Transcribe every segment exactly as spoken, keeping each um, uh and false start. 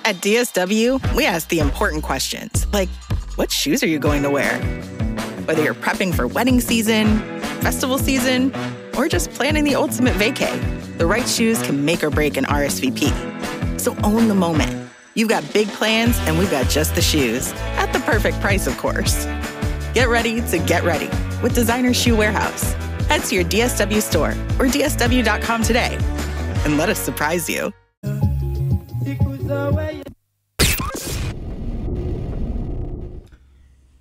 At D S W, we ask the important questions, like, what shoes are you going to wear? Whether you're prepping for wedding season, festival season, or just planning the ultimate vacay, the right shoes can make or break an R S V P. So own the moment. You've got big plans, and we've got just the shoes at the perfect price, of course. Get ready to get ready with Designer Shoe Warehouse. Head to your D S W store or D S W dot com today and let us surprise you.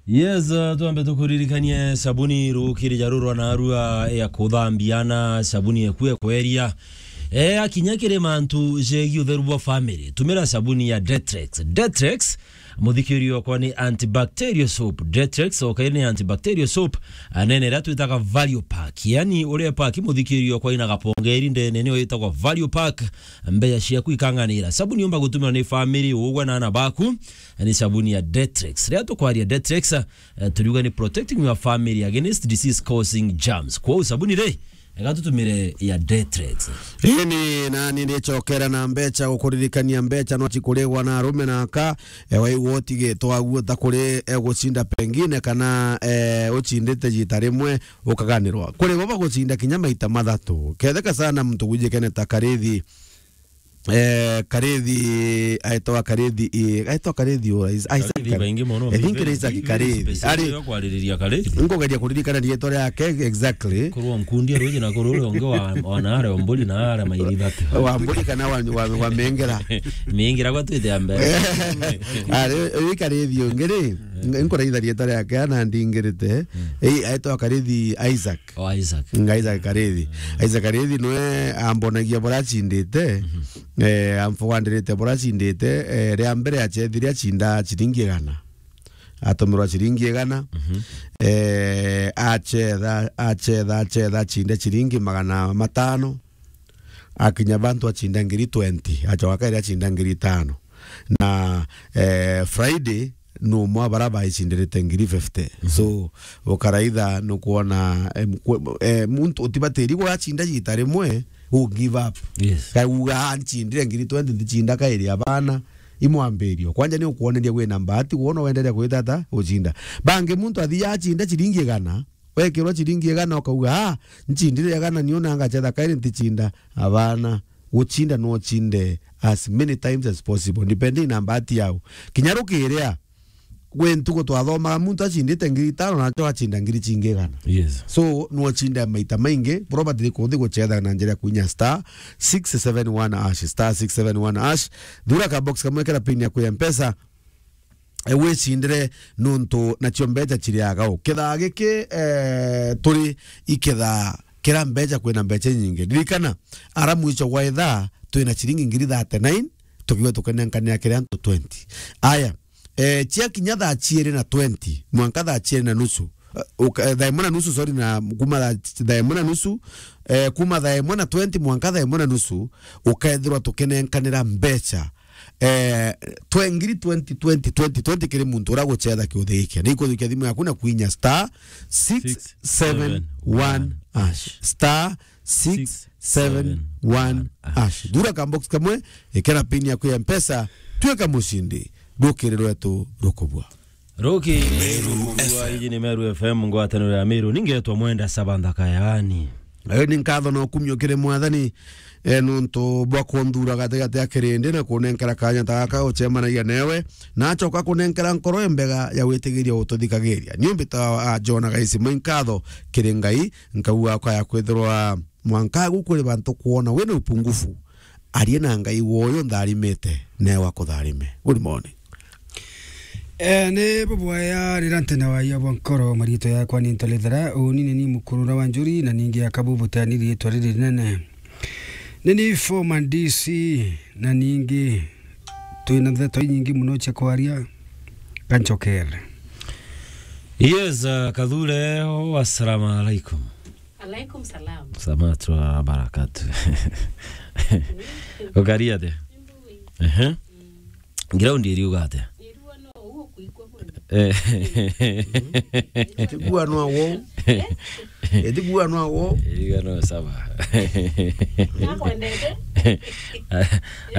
Yes, uh, twambe tukuririkanie sabuni rukiri ja rurwa na arua ya kuthambia na sabuni ekue kweria. E, akinya kiri mantu jegi utheru bwa family, tumira sabuni ya Detrex. Detrex, muthikiri okwa, ni antibacterial soap. Detrex okaire ni antibacterial soap, anene iria twitaga value pack. Yani uria pack muthikiri okwa ina gapongeri ndene niyo itagwa value pack. Mbeca ciaku ikang'anira. Sabuni yumba gutumirwa ni family, ugwe na ana baku, ni sabuni ya Detrex. Riria tukwaria Detrex, eh, turiuga ni protecting your family against disease causing germs. Kwou sabuni ri, ega tutumire ya Detrex. Ini nani ndicokera na mbeca gukuririkania mbeca no cikurigwa na arume na aka, e, waigua utigitwa aguo ta kuri, e, gucinda pengine kana, e, ucindite jita rimwe ukaganirwa. Kuri bo bagucinda kinya maita mathatu. Ketheka sana muntu gwijikene ta Karithi, eh, Karithi, aitwa Karithi, eh, aitwa Karithi ura, Is-, Isaac Karithi Kar-, baingi mono, I think ni Isaac Karithi. Ari, yo kwaririria Karithi. Nkugeria kuririkana riitwa riake exactly. Kurwa nkundi ruji na kuru uri ungi wa, wa naare Omburi na ara mairi thatu. Wa Mburi kana wa, wa, wa Mengera. Mengera gwa twite ambe. Ari, uyu Karithi ungi ri, nkuraitha riitwa riake ana ndingirite. Eh, aitwa Karithi Isaac. O Isaac. Nga Isaac Karithi. Isaac Karithi nwe ambonagia bura acindite, eh, amfugandirite bura acindite, eh, ria mbere acethire acinda ciringi igana. Atumirwa ciringi igana, eh, acetha, acetha, acetha, acinde ciringi magana matano. Akinya bantu acinda ngiri twenty, acoka kairi acinda ngiri itano. Na, eh, Friday, numwe bara baicindirite ngiri fifty. So, ukaraitha nukwona, em, kwe-, eh, muntu utibatiri guracinda jita rimwe, u give up. Yes. Kai uga, "Ah, ncindire ngiri twenty, ndicinda kairi abana." Imwambirio. Kwanja ni ukwoneria wina mbati, wona wenderea kwita ata, ucinda. Bangi muntu athi yacinda ciringi igana, wekirwa ciringi igana ukauga, "Ah, ncindire igana, niona ngacetha kairi nticinda." Abana, gucinda no ucinde as many times as possible, depending na mbati yao. Kinya rukiria, gwi ntuku twathomaga muntu acindite ngiri itano na aco acinda ngiri cingi igana. Yes. So, no ucinde maita maingi, probably kuthi gucetha na njira ya kuinya star six seven one hash, star six seven one hash, thura ka box kamwe kera pin yaku ya Mpesa, e, wicindire nuntu nacio mbeca ciriaga u. Kithaa giki, e, turi ikithaa kira mbeca kwina mbeca inyingi. Ririkana, ara mwico gwa ithaa twina ciringi ngiri thirty-nine, tukiuga tukenenkanira kiri antu twenty. Aya, e, ciakinya thaa ciiri na twenty, mwanka thaa ciiri na nusu, e, uka-, e, thaa imwe na nusu, sorry, na kuma thaa, thaa imwe na nusu, e, kuma thaa imwe na twenty mwanka thaa imwe na nusu, ukethirwa tukinenkanira mbeca eh, twe ngiri twenty, twenty, twenty, twenty kiri muntu uria gucetha kiuthi giki. Ni ikuthukia thimu yaku na kuinya star six seven one hash. Star six seven one hash. Thura ka box kamwe, ikira pin yaku ya Mpesa, tuika mucindi. Rukiri rwetu rukubua. Ruki Meru F M. Iji ni Meru F M, ngwataniro ya Meru. Ningetwa Mwenda Sabantha Kayani. Ayo ni nkatho na ukumio kiri Mwathani, e, nuntu bwa kunthura gatigati ya kirindi na kunenkera kanya ta gaka ucemanagia newe, na acoka kunenkera nkoro imbega ya gwitigiria ututhikagiria. Ni umbita a Jona Gaisima nkatho kiri Ngai, nkauga akaya kwithirwa mwanka agu kuri bantu kwona wina upungufu. Arie na Ngai woyo ntharimite, newe akutharime. Good morning. Eh, ni bubwaya rira ntene waia bwa nkoro, mariitwa yakwa ni Ntalithera, uni ni ni mukurura wa njuri, na ningi akabu butani riitwa riri rinene. Ni ni former D C, na ningi twina ndeto inyingi muno cia kwaria, kanchokere. Yes, uh, Kathure, oh, assalamu alaikum. Alaikum salam. Samatu wa barakatu. Ukari atia? Ehe. Ground iriuga atia? Eh. Etigua no wo. Etigua no wo. Iriuga no sawa. Nakwendete.